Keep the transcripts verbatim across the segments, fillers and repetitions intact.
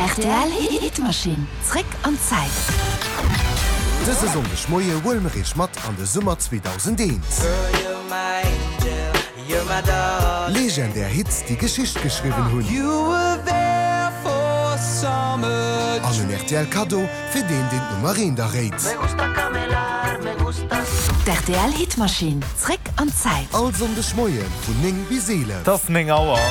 R T L Hitmaschinn. Zréck an d'Zäit. Dëse Sonndegmoie huele mer iech mat an de Summer zweedausendeent. Legendär Hits, déi Geschicht geschriwwen hunn. An en R T L Kaddo fir deen, deen d'Nummer eent erréit. D R T L Hitmaschinn. Zréck an d'Zäit. All Sonndegmoie vun néng bis eelef. Et ass néng Auer.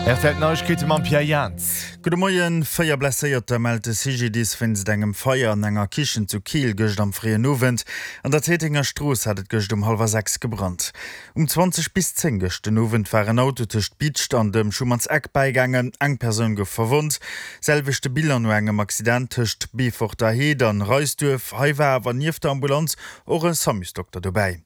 R T L Neiegkeete mam Pierre Jans. Gudde Moien. Véier Blesséierter mellt de C G D I S wéinst engem Feier an enger Kichen zu Keel gëscht am fréien Owend. An der Téitenger Strooss hat et gëscht um hallwer sechs gebrannt. Um zwanzeg bis zéng gëscht den Owend war en Auto tëscht Bidscht an dem Schumannseck bäigaangen. Eng Persoun gouf verwonnt. Selwechte Bilan no engem Accident tëscht Beeforter Heed an Reisduerf. Hei war awer nieft der Ambulanz och e Samusdokter dobäi.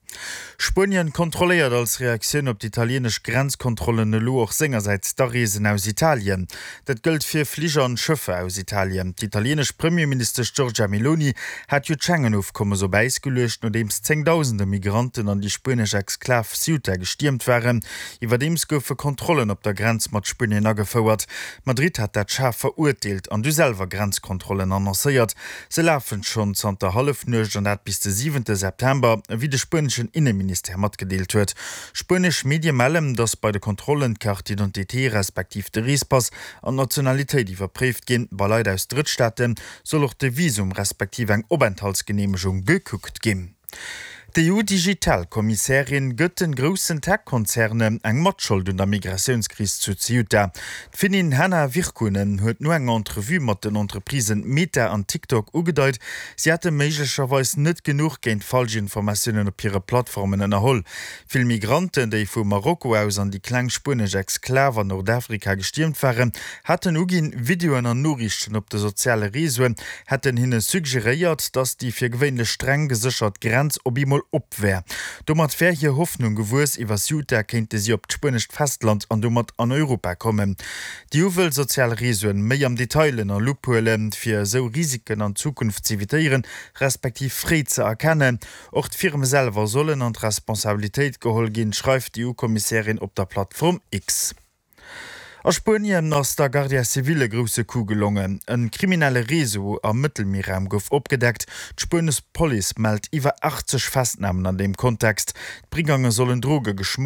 Spuenien kontrolléiert als Reaktioun op d'italienesch Grenzkontrollen elo och sengersäits d'Areesen aus Italien. Dat gëllt fir Fliger an Schëffer aus Italien. D'italienesch Premierministesch Giorgia Meloni hat jo d'Schengen-Ofkommes op Äis geluecht, nodeems zéngdausende Migranten an déi spuenesch Exklav Ceuta gestiermt waren. Iwwerdeems goufe Kontrollen op der Grenz mat Spuenien agefouert. Madrid hat dat schaarf verurteelt an du selwer Grenzkontrollen annoncéiert. Se lafen schonn zanter Hallefnuecht an dat bis de siwente September, wéi de spueneschen Inneministère matgedeelt huet. Spuenesch Medie mellen, datt bei de Kontrollen d'Carte d'identité respektiv de Reespass an d'Nationalitéit iwwerpréift ginn. Bei Leit aus Drëttstaate soll och de Visum respektiv eng Openthaltsgeneemegung gekuckt ginn. D'E U-Digital-Kommissärin gëtt de groussen Tech-Konzernen eng Matschold un der Migratiounskris zu Ceuta. D'Finnin Henna Virkkunen huet no enger Entrevue mat den Entreprisen Meta an TikTok ugedeit, si hätte méiglecherweis net genuch géint Falschinformatiounen op hire Plattformen ënnerholl. Vill Migranten, déi vu Marokko aus an déi kleng spuenesch Exklav an Nordafrika gestiermt waren, haten uginn, Videoen an Noriichten op de soziale Reseauen hätten hinne suggeréiert, datt déi fir gewéinlech streng geséchert Grenz op eemol op wär. Domat wär hir Hoffnung gewuess, iwwer Ceuta kéinte si op d'spuenescht Festland an domat an Europa kommen. D'E U wëll sozial Reseauen méi am Detail ënner Lupp huelen, fir esou Risiken an Zukunft z'evitéieren, respektiv fréi ze erkennen. Och d'Firme selwer sollen an d'Responsabilitéit geholl ginn, schreift d'E U-Kommissärin op der Plattform X. A Spuenien ass der Guardia Civil e grousse Coup gelongen. E kriminelle Réseau am Mëttelmierraum gouf opgedeckt. D'spuenesch Police mellt iwwer achtzeg Festnamen an deem Kontext. D'Brigange sollen Droge geschmuggelt